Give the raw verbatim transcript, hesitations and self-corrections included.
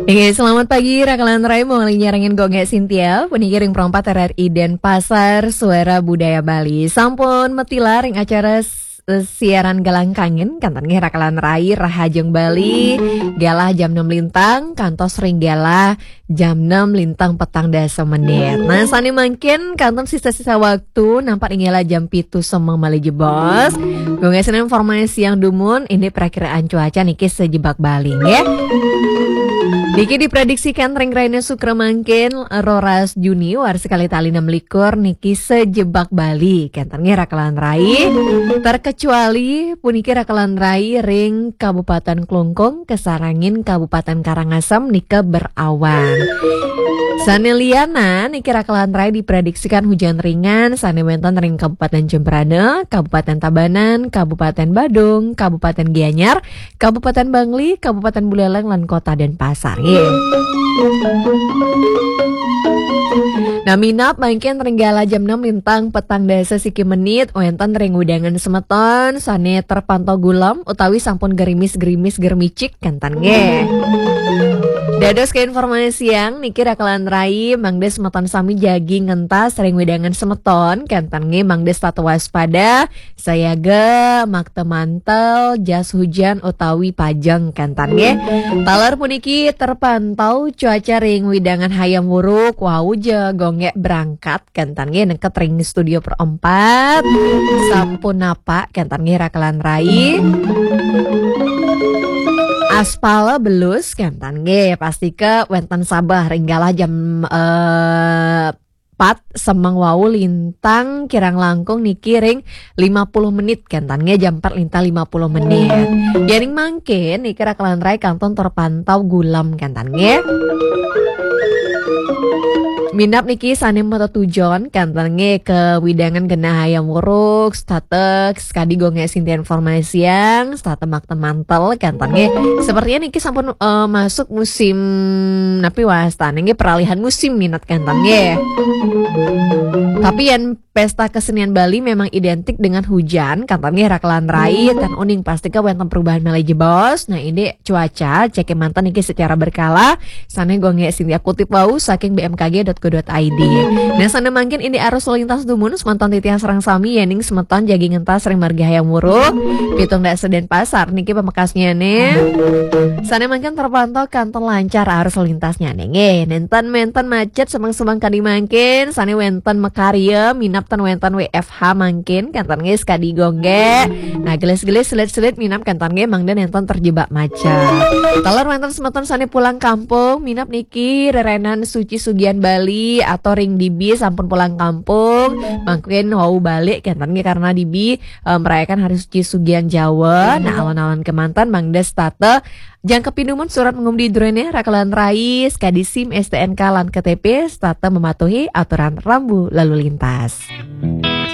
Oke, selamat pagi, Rakalan Rai, mau lagi nyarengin Gongge Sintia, puniki ring Pro empat R R I Denpasar, Suara Budaya Bali. Sampun matilar ring acara s-, siaran Galang Kangen, kantun nggih Rakalan Rai, Rahajeng Bali, galah jam enam lintang, kantos ring galah jam enam lintang petang dasa menit. Nah, sane mangkin kantun sisa-sisa waktu, nampak ring galah jam pitu semeng malih jebos. Gongge sinten informasi yang dumun, ini perakiraan cuaca niki sejebak Bali, nggih. Niki diprediksikan ring rahina Sukra mangkin, roras Juni, warsa kalih tali enam likur, niki sejebak Bali. Kenten nggih Rakalan Rai. Terkecuali puniki Rakalan Rai ring Kabupaten Klungkung, kasarengin Kabupaten Karangasem nika berawan. Sane lianan niki Rakalan Rai diprediksikan hujan ringan sane wenten ring Kabupaten Jembrana, Kabupaten Tabanan, Kabupaten Badung, Kabupaten Gianyar, Kabupaten Bangli, Kabupaten Buleleng, lan Kota Denpasar, nggih. Nah, minab mangkin ring galah jam enam lintang petang dasa siki menit, wenten ring wewidangan semeton sane terpantau gulem utawi sampun gerimis-gerimis germicik, kenten nggih. Dados keinformasiang niki Rakalan Rai, mangda semeton sami jagi ngentas ring wewidangan semeton, kenten nggih, mangda setata waspada, sayaga, makta mantel, jas hujan utawi pajeng, kenten nggih. Taler puniki terpantau cuaca ring wewidangan Hayam Wuruk, wau ja Gongge berangkat, kenten nggih, neket ring studio Pro empat. Sampun napak, kenten nggih Rakalan Rai. Aspal belus, kenten nggih, pastika wenten sabeh ring galah jam, eh, pat semeng wau lintang kirang langkung niki ring lima puluh menit, kenten nggih, jam pat lintang lima puluh menit. Yening mangkin niki Rakalan Rai kantun terpantau gulem, kenten nggih. Minab niki sane matetujon, kenten nggih, ka wewidangan genah Hayam Wuruk, setata sakadi Gongge Sintia informasiang, setata makta mantel, kenten nggih. Sepertinya niki sampun, eh, masuk musim napi wastane nggih, peralihan musim minat, kenten nggih. Tapi yen pesta kesenian Bali memang identik dengan hujan, kenten nggih Rakalan Rai, ten uning pastika wenten perubahan malih jebos. Nah, ini cuaca, cek manten niki secara berkala, sane Gongge Sintia kutip wau saking B M K G dot co dot I D. Nah, sane mangkin ini arus lalu lintas dumun, semeton titiang sareng sami, yening semeton jagi ngentas ring margi Hayam Wuruk, pitung dasa Denpasar niki pamekasnyane. Sane mangkin terpantau kantun lancar arus lalu lintasnyane nggih. Nenten menten macet semeng-semeng kadi mangkin, sane wenten makarya, minab ten wenten W F H mangkin, kenten nggih sakadi Gongge. Nah, gelis-gelis selit-selit minab kenten nggih, mangda nenten terjebak macet. Taler wenten semeton sane pulang kampung, minab niki rerenan Suci Sugian Bali atau ring dibi sampun pulang kampung, mangkin wau balik, kenten nggih, karena dibi, eh, merayakan Hari Suci Sugian Jawa. Nah, alon-alon kemanten mangda setata jangkepi dumun surat pangumdi druene, Rakalan Rai, sakadi SIM, S T N K, lan K T P, setata mematuhi aturan rambu lalu lintas.